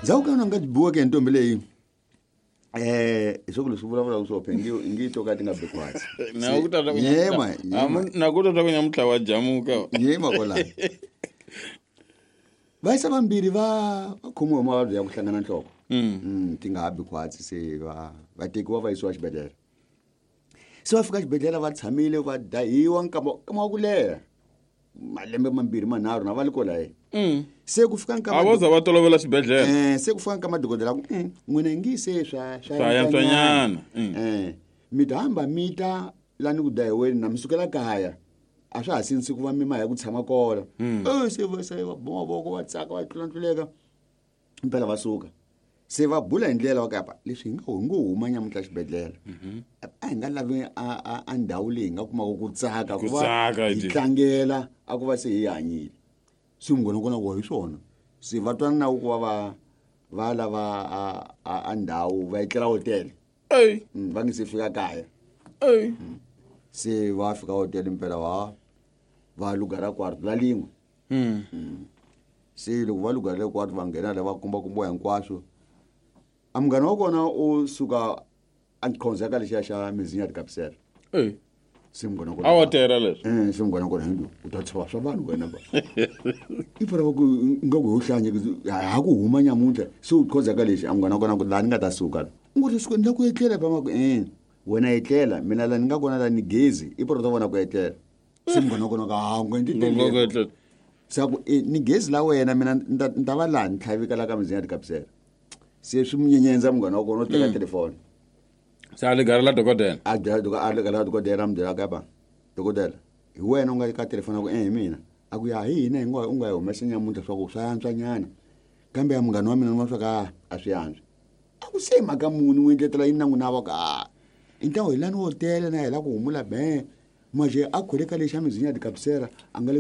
Ndzhaku ka yona nga biweke hi ntombi leyi hi swa ku leswi vulavulaka swo phe ngi ngi to ka ti nga bi khwatsi. Na ku tata ku Yema, yema. Na ku tata ku nyamutlha wa jamuka. Yema kwalano. Vayisa vambirhi va va khomiwe hi mavabyi ya ku hlangana nhloko. Ti nga ha bi khwatsi se va va tekiwa va yisiwa xibedhlele. Se va fika xibedhlele va tshamile va dahiwa nkama nkama wa ku leha. Malembe mambirhi manharhu na va li kwalaye. Se ku fika nkama A vo za va tolovela xibedhlele. Se ku fika nkama dokodela ku n'wina ngi se swa swa Swa yantswanyana. Mi ta hamba mi ta la ni ku dahiweni na mi sukela kaya. A swa ha sinsi ku va mi ma ya ku tshama kona. Se va se va boma mavoko va tsaka va tlulatluleka. Impela va suka. Se va bula hi ndlela wa kapa leswi hi nga hi ngo huma nyamuntlha xibedhlele. A hi nga lavi a ndhawu leyi hi nga kumaka ku tsaka Ku ku va tsaka, hi hi tlangela a ku va se hi hanyile. Se munghana wa kona ku hi swona. Se va twana na ku va va va lava a ndhawu va etlela hotele. Ey. Va nge se fika kaya. Ey. Se va fika hotele impela va va lugara kwarto la lin'we. Se loko va lugara le kwarto va nghena la va kumbakumbiwa hinkwaswo. A munghana wa kona u suka a khonza ka lexiya xa mizinya tikapsela. Ey. Se munghana wa kona A hotela leswi. Se munghana wa kona hi u ta tshova swa vanhu wena ba. I fana va ku nga ku ho hlanya ha ku huma nyamuntlha se u khonza ka lexi a munghana wa kona ku laha ni nga ta suka. U ngo leswi ni la ku etlela ba ma ku wena etlela mina la ni nga kona la ni gezi i poro ta vona ku etlela. Se munghana wa kona ka ha u nga endli Nga ku leswo. etlela. Se a ku ni gezi la wena mina ni ta va laha ni tlhavika la ka mizinya tikapsela. Se swi mu nyenyendza munghana wa kona u teka telefoni. Se a ligara la dokodela. A byela a ligara la dokodela a mu byela ka ba dokodela hi wena u nga ka telefoni a ku hi mina. A ku ya hi hina hi ngo u nga hi humesa nyamuntlha swa ku swa antswanyana. Kambe ya munghana wa mina ni vona swa ku a swi antswi. A ku se mhaka muni u endletela yini na n'wina va ku a i ntlangu hi lani wo tele na hi la ku humula be. Maje a khwele ka lexa mizinya tikapsela a nga le